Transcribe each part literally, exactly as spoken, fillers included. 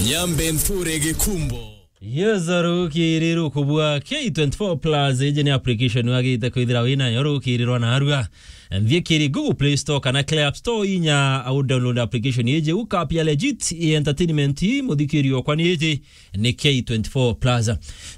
Nyambe nthure gikumbo. Yes, rukiri rukubwa K twenty-four plus, iji ni application wagite kwithira winayo rukiri rwa narua. Nthie kiri Google Play Store kana Play App Store inya au download application iji, ukapia legit i entertainment, muthikiri okwa ni iji ni K twenty-four plus.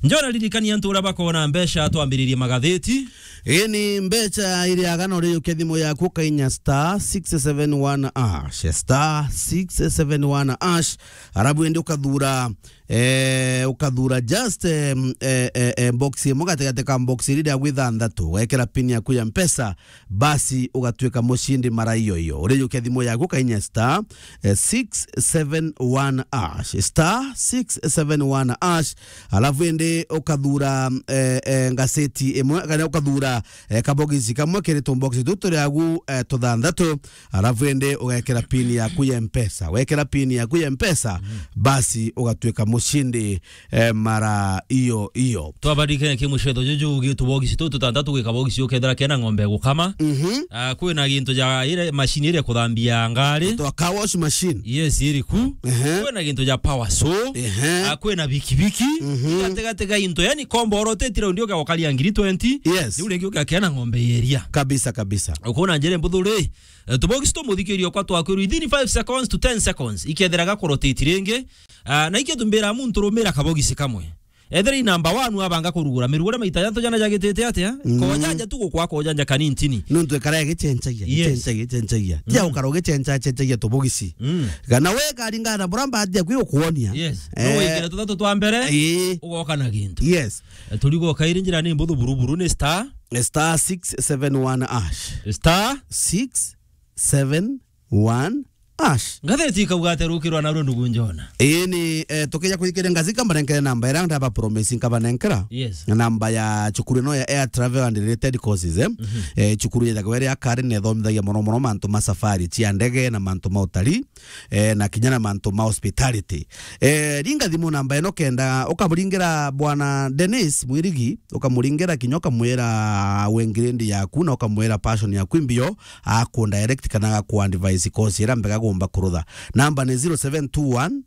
Njona ririkania antu uria bakona mbeca twambiririe magatheti. Ii ni mbeca iri agana uri yukia thimu yaku ukainya star six seven one hash, star six seven one hash, arabu indi ukathura, eh, ukathura just, eh, eh, eh, eh, box imwe gatigati ka box iri ria gwithanthatu, wekira pin yaku ya Mpesa, basi ugatuika mucindi mara iyo iyo. Urijukia thimu yaku ukainya star, eh, six seven one hash, star six seven one hash, alafu indi ukathura, eh, eh, ngaseti imwe, kana ukathura, eh, kabogisi kamwe kiri tubox tutu turi agu, eh, tuthanthatu, alafu indi ugekira pin yaku ya Mpesa. Wekira pin yaku ya Mpesa, basi ugatuika mucindi, eh, mara iyo iyo. Twabarikane ki mucetho juju gitu bogisi tu tutantatu gwika bogisi ukethira kena ng'ombe gukama. Mhm. Ah, kwina gintu ja ire machine ire kuthambia ngari. Twa car wash machine. Yes, iri ku. Ehe. Kwina gintu ja power saw. Ehe. Ah, kwina bikibiki. Mhm. Gatigati ga into, yani kombo oro teti raundi uga ukaria ngiri twenty. Yes. Riu ringi uga kena ng'ombe yeria. Kabisa, kabisa. Ukona njere mbuthu ri, eh, tubogisi tu muthikiri okwa twakwirwo within five seconds to ten seconds. Ikethira ga kuroteti ringi. Ah, na ikio tumbira muntu rumira kabogisi kamwe. Ethira i number one wabanga kurugura mirugure maita jatho jana jagitite atia? Mm. Kojanja tu gukwa kojanja kanintini. Nontu ekara igichenchagia, yes, gichenchagia, gichenchagia. Tia, mm, ukara ugichencha, chenchagia tubugisi. Mm. Kana we karingana na bura mbati yaku igukuonia. Yes. Eh. No wikire tuthatu twa mbere, ii, ugoka na gintu. Yes. Eh, turigo kairi njira ni mbuthu buruburu ni star. Star six seven one hash. Star six seven one hash. Ngatheti ikauga atia rukirwa narua ndugu Njona? Ii ni, eh, tukija kurikire ngazi, nkabanenkere namba iria ndaba promise nkabanenkera. Yes. Namba ya cukuru ino ya Air Travel and Related Courses, eh? Mhm. Eh, cukuru yethagwa iri ya Karen na ithomithagia mono mono mantu ma safari cia ndege na mantu ma utalii, eh, na kinya na mantu ma hospitality. Eh, ringa thimu namba ino kenda ukamuringira Bwana Dennis Mwirigi, ukamuringira kinya ukamwira wengirindi yaku na ukamwira passion yaku imbio, aku direct kana agaku advise course ira mbega gumba kurutha. Namba ni zero seven two one,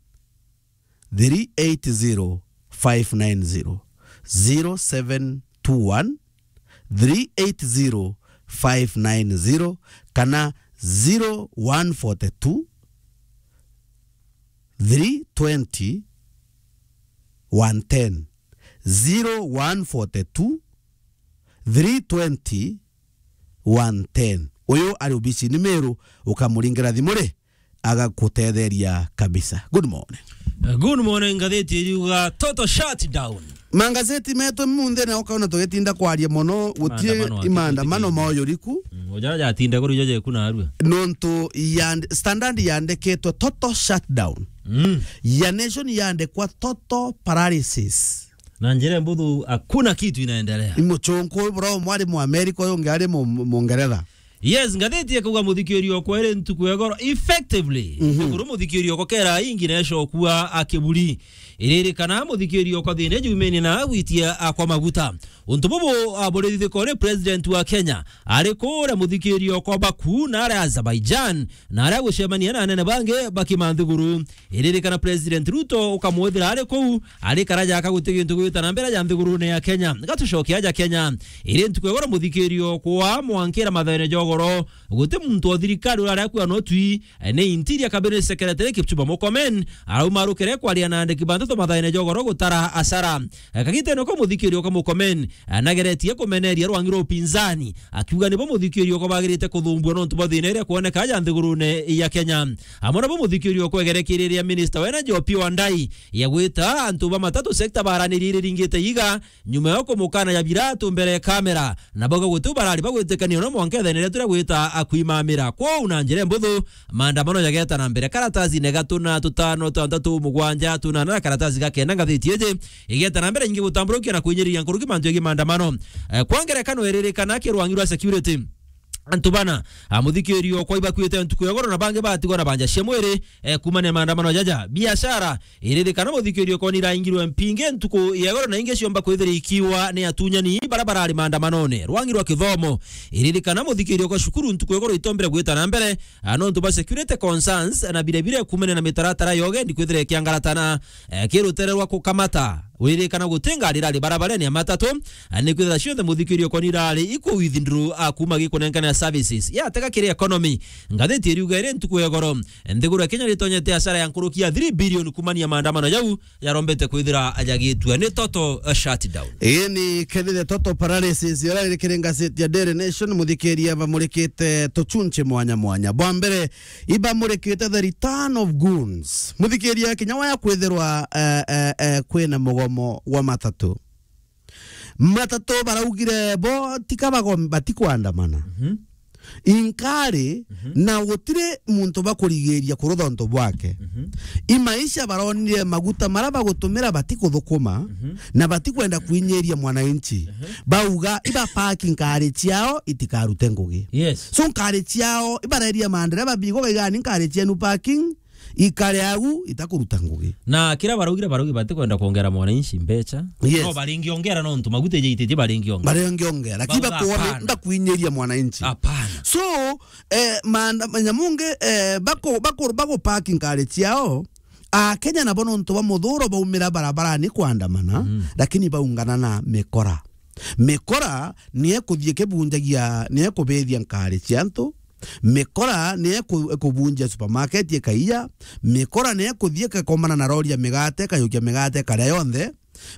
three eight zero, five nine zero. Zero seven two one, three eight zero, five nine zero, kana zero one forty two, three twenty, one ten. Zero one forty two, three twenty, one ten. Uyu ari obisi ni Meru, ukamuringira thimu ri, agakutetheria kabisa. Good morning. Uh, good morning, ngatheti iriuga total shutdown. Mangazeti metu munthe na ukaona tugitinda kwaria mono, gutie maandamano, i maandamano maoyoriku. Mm, ujara jatinda kuru jaje kuna arua. Nontu ya standard yandikitwe total shutdown. Mm. Ya nation yandikwa total paralysis. Na njira mbuthu, hakuna kitu inaendelea. Ni muchunku uyu bro, umwe ari mu America, uyu ungi ari mu, Mungeretha. Yes, ngatheti ikauga muthikiri okwa iri ntuku ya goro effectively. Mhm. Kuru muthikiri okwa kera ingi na ecokua akiburi. Iririkana muthikiri okwa thina jumeni na gwitia akwa maguta. Untu bubu, ah, buri thithiko ri president wa Kenya ari kuria muthikiri okwa Baku na ari Azerbaijan na ari gucemania na anene bangi ba kimanthiguru. Iririkana President Ruto ukamwithira ari kuu, ari karaja aka guti gintu gwita na mbere ja nthigurune ya Kenya. Gatucokia aja Kenya. Iri ntuku ya goro muthikiri okwa mwankira mathaene ja ugoro. Guti muntu o thirikari uraria akua no twi, ni Interior Cabinet Secretary Kipchumba Murkomen, arauma arukere kwaria na andiki ba nteto mathaene ja ugoro gutara asara. Kagitene ko muthikiri okwa Murkomen, nageretie kumeneria rwangi rwa upinzani, akiuga nibo muthikiri okwa bagirite kuthumbua nontu bwa thina iria kwoneka ja nthigurune ya Kenya. Amwe nabo muthikiri okwa egerekirie riria minister wa energy Opiyo Wandayi ya gwita antu ba matatu sector baranirie iriringite iga, nyuma ya kumukana ya biratu mbere ya kamera, na bauga guti barari bagwitikania no mwanka ethene riria turia gwita akwimamira. Kwou na njira mbuthu, maandamano jageta na mbere. Karatasi ne gatuna tutano tantatu mugwanja tunana na karatasi ga kenda ngathiti iji igeta na mbere nyingi gutamburukia na kwinyiriria nkuruki mantu jegii maandamano. Eh, kwa ngerekano iririkana kirwangi rwa security. Antu bana, a, muthikiririo kwa ibakuite ntuku ya goro na bangi batigwa na banja cia mwiri, e, kumania maandamano jaja. Biashara, iririkana muthikiririo kwa niraingirwe mpinge ntuku ya goro na ingi ciomba kwithira ikiwa ni atunyani bara barari maandamanone. Rwangi rwa kithomo, iririkana muthikiririo kwa cukuru ntuku ya goro itombire gwita na mbere, a, nontu ba security concerns na bire bire kumania na mitaratara ya ugendi kwithira ikiangaratana, e, kirutere rwa kukamata. Wiririkana guti ngari irari barabarene ya matatu, a, ni kwithira cionthe muthikiririo kwa nirari iku withdraw, a, kuma gikunenkana services. Yatega kiri economy. Ngathiti iriuga iri ntuku ya goro, nthiguru ya Kenya nitonyete hasara ya nkuruki ya three billion kumania maandamano jau yarombete kwithira jagitua. Ni total, a, shutdown. Ii ni kethire total paralysis, ira iri kiri ngazeti ya Daily Nation, muthikiria bamurikite tuchunche mwanya mwanya. Bwa mbere, ibamurikite the return of goons. Muthikiria kinya waya kwithirwa, eh, eh, eh, kwina mugomo wa matatu. Matatu baraugire bo tika bagom-, batikwandamana. Mhm. Inkari, mhm, na gutiri muntu bakurigiria kurutha untu bwake. Mhm. Imaisha baronire maguta mara bagutumira batikuthukuma, mhm, na batikwenda kwinyiria mwananchi. Mhm. Bauga iba park nkari ciao itikarute ngugi. Yes. So nkari ciao ibareria mandereba bigo gaigani nkari cienu parking, ikare agu itakuruta ngugi. Na kira baraugire, baraugi batikwenda kuongera mwananchi mbecha. Yes. No baringiongera nontu maguta ijaititie baringiongera. Baringiongera. Lakini bauga bakuone hapana. Ndakuinyiria mwananchi. Hapana. So, eh, maanda-, nyamungi, eh, bako-, bako-, bago park nkari ciao, Akenya nabo nontu ba muthuro baumira barabarani kwandamana, mm, lakini baungana na mikora. Mikora ni ekuthie kibunjagia, ni ekubithia nkari cia antu. Mikora ni eku-, ekubunjia supermarket ikaiya. Mikora ni ekuthie ikakomana na rori ya migate, ikayukia migate ikaria yonthe.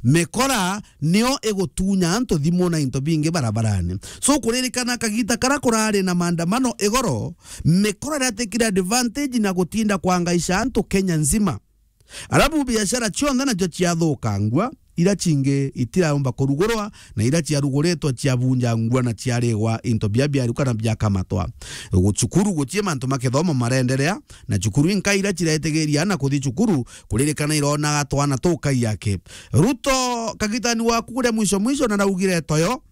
Mikora nio igutunya antu thimu na into bingi barabarani. So, kuririkana kagita kara kurari na maandamano igoro, mikora iratikire advantage na gutinda kwangaisha antu Kenya nzima. Arabu biashara cionthe nacio ciathukangua, ira cingi itiraumba kurugurwa, na ira ciaruguritwe ciabunjangua na ciarigwa into bia biaruka na biakamatwa. Gu-, cukuru gutie mantu ma kithomo marenderea, na cukuru inka ira ciretigiria na kuthi cukuru, kuririkana ironaga twana tukai yake. Ruto kagitani waku kuria mwisho mwisho na naugire toyo,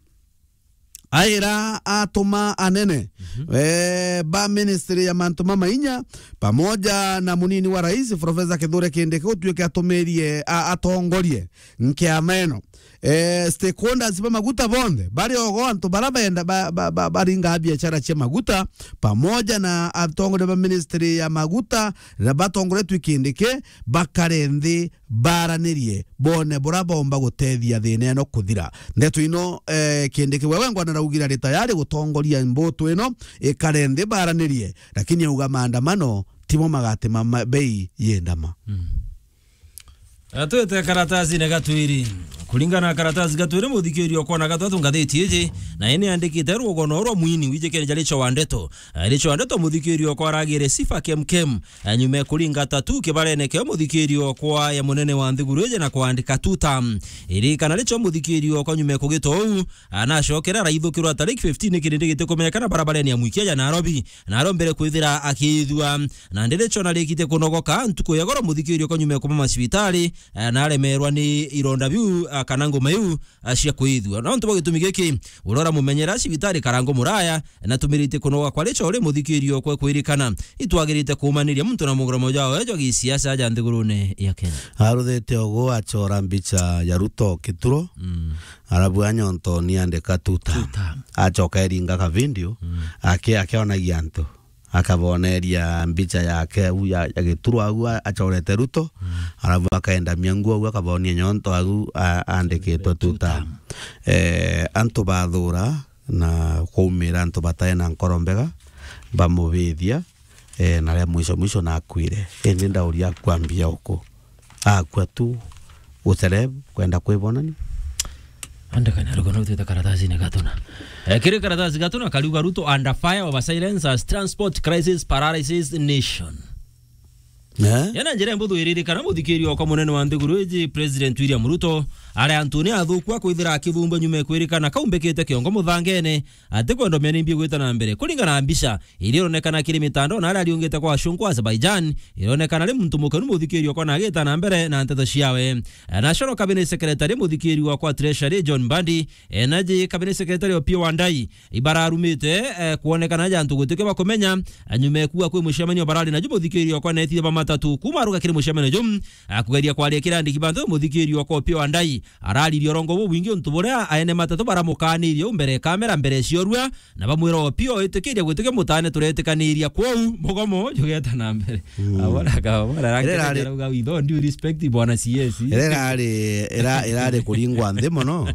aira atuma anene, mhm, eh, ba ministry ya mantu mamainya, pamoja na munini wa rais, Professor Kithure Kindiki, utuike atumirie, a-, atongorie nkiama ino. Eh, stakeholders ba maguta bonthe, bari ogo antu bara benda ba-, ba-, ba-, baringa biashara cia maguta, pamoja na atongoria ba ministry ya maguta, na batongoretwe Kindiki, bakare nthi, baranirie, bone bura bomba gutethia thina ino kuthira. Ndeto ino, eh, Kindiki wewe ngwana raugira ri tayari gutongoria mbutu ino, ikare nthi baranirie, lakini auga maandamano timo magati ma, ma, bei yendama. Mm. Atwite karatasine gatwiri. Kuringana na karatasi gatwiri, muthikirio kona gatatu ngathiti iji, na ini andikite rugono rwa mwini wijikene jari cho wa ndeto. Eh, richo wa ndeto muthikirio kwa aragire sifa kemkem. Eh, nyuma ya kuringa tatu kibarene kio muthikirio kwa ya munene wa nthiguru iji na kwandika tuta. Iri kana richo muthikirio kwa nyuma ya kugita uu, anacokera araithukirwa tariki fifteen kirindi gitikumenyekana barabarene ya mwikia ya Nairobi. Na arombere kwithira akithua. Na ndiricho narikite kunogoka ntuku ya goro muthikirio kwa nyuma ya kuma macibitari, eh, na aremerwa ni ironda biu, ah, kana nguma iu, ah, cia kwithua. Na untu bwa gitumi giki, urora mumenyera cibitari karango muraya, na tumirite kunoga kwa richo uri muthikirio kwe kwirikana. Itwagirite kumaniria muntu na mugromo jao jwa gisiasa ja nthigurune ya Kenya. Aruthite ugu achora mbicha ya Ruto kituro, mm, arabu anyonto ni andika tuta. Tuta. Acoka eringa ka video, mm, ake-, akionagia antu. Akaboneria mbicha yake au ya, ya gituro au a-, achorete Ruto, mm, arabu akaendamia nguo au akabonia nyonto au a-, andikitwe tuta. Tuta. Eh, antu bathura na kwaumira antu batae na nkoro mbega, bamubithia, eh, na ria mwisho mwisho nakwire. Indi ndauria akwambia uku. Akua tu, gucere, kwenda kwibonania. Andikania rugono twita karatasine gatuna. Eh, kiri karatasi gatuna kariuga Ruto under fire over silence as transport crisis paralysis nation. Eh? Yana njira mbuthu iririkana muthikirio kwa munene wa nthiguru iji, President William Ruto, Aria antu ni athuku a kwithira akithumbua nyuma ya kwirikana kaumbikite kiongo muthangene, atikwenda umenya nimbi igwita na mbere. Kuringana na mbica iria ironekana kiri mitandao na aria ariungite kwa acunku Azerbaijan, ironekana ari muntu mukenu muthikiri okwa na agita na mbere na nteto ciawe. National Cabinet Secretary muthikiri okwa Treasury John Mbadi, Energy Cabinet Secretary Opiyo Wandayi, ibararumite, eh, kwonekana ja antu gutike bakumenya, eh, nyuma ya kuuga kwi mucemanio barari naju muthikiri okwa na ethithia ba matatu. Kuma aruga kiri mucemanio ju, eh, kugeria kwaria kiri andiki ba nteto muthikiri okwa Opiyo Wandayi araririe urongo bubwingi untu buria aene matatu baramukaanirie u mbere ya kamera mbere ciorua, na bamwira Opiyo itikiria gwitikia mutaane turetikaniria kwou mugomo jugeta na mbere. Mm. Abona ka, abona Ira rake irari arauga, "With all due respect, bwana C S." Ira irari, ira-, irari kuringwa nthi mono.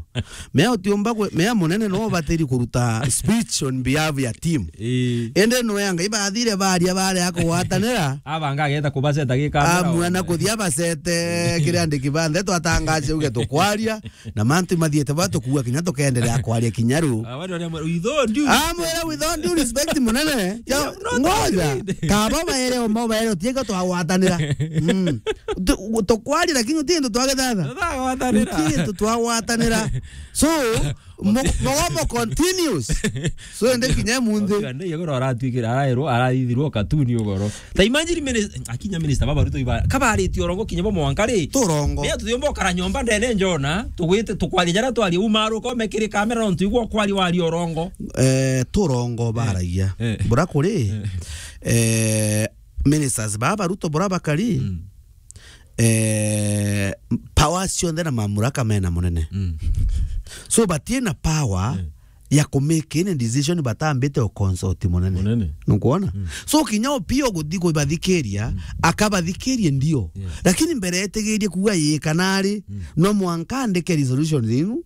Mea utiumba kwe-, mea munene no ubatiri kuruta speech on behalf ya team. Ii. Indi nwe anga ibathire baria baria kugwatanira. Abanga ageta kubaceta gikamera. Amwe na kuthia bacete kiri andiki ba ndeto atangace uge tukwaria. Na mantu mathiete ba tukua kinya tukenderea kwaria kinya riu. Ah, wale wale, with all due Ah, mwira with all due respect munene. Yo, I'm not ngoja. Agreed. Kaba baere o mau baere utiga twagwatanira. Mm. Tu-, tukwaria lakini uti ndu twagethatha. Twagwatanira. Uti ndu twagwatanira. So, mo-, mogomo continues. So, ende kinya munthi. Ande yegoro aratuikira, arairwo, araithirwo katuni ugoro. Ta imagine minis-, akinya minister baba Ruto iba, kabaritie urongo kinya bo mwanka ri. Turongo. Mea tuthiomba ukara nyomba ndene njona, tugwite tukwaria jara twaria umaruka umekiri kamera nontu igwa kwari wari urongo. Eh, turongo baragia. Eh. Bura kuri, eh, ministers baba Ruto bura bakari. Mm. Eh, power cionthe na mamuraka mena munene. Mm. So, batina power Mm. ya ku make any decision batambite o consult munene. Munene. Nukwona? Mm. So, kinya Opiyo guthi kubathikiria, Mm. akabathikirie ndio. Yes. Lakini mbere etigirie kuuga ii kana ari, Mm. no mwanka andike resolution inu,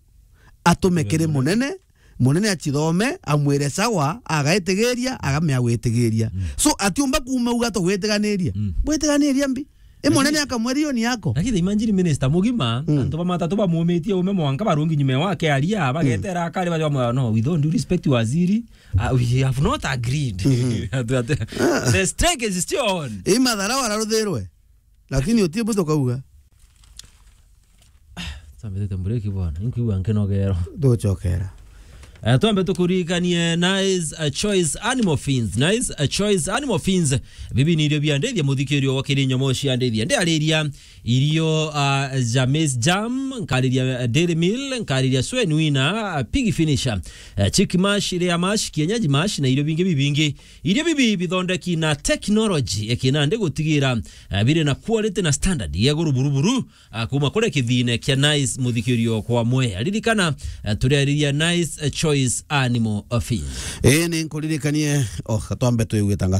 atume kiri Munene. munene, munene acithome, amwire sawa, agaitigiria, agamea gwitigiria. Mm. So, atiumba kuuma uga tugwitiganiria. Mm. Gwitiganiria mbi. E munene akamwira iyo ni yako. Lakini imagine minister mugima, Mm. antu ba matatu bamumitie ume mwanka barungi nyuma wake aria, bagetera akari bajo mwa, "No, with all due respect waziri, uh, we have not agreed." Mhm. Atu-, atu-, Ah. the strike is still on. I mathara wararuthirwe. Lakini utie buto kauga. Twambitite mburiki bwana, inkuigua nkinogero. Nduchokera. Eh, twambe tukuririkanie Nice, uh, Choice Animal Feeds. Nice, uh, Choice Animal Feeds. Bibi ni irio biandithia muthikiri wa kiri nyomo cia ndithia. Ndiariria irio, uh, ja maize germ, nkariria, uh, dairy meal, nkariria swen winner, uh, pig finisher, uh, chick mash, layer mash, kienyeji mash na irio bingi bibingi. Irio bibi bithondeki na technology ya kinandi gutigira, uh, biri na quality na standard ya iguru buru buru. Ah, kuma kuri kithine kia Nice muthikirio kwa mwe. Aririkana, ah, turiariria Nice, eh, Choice Animal Feed. Ii, ni nkuririkanie, oh, twambe twigue tangazo.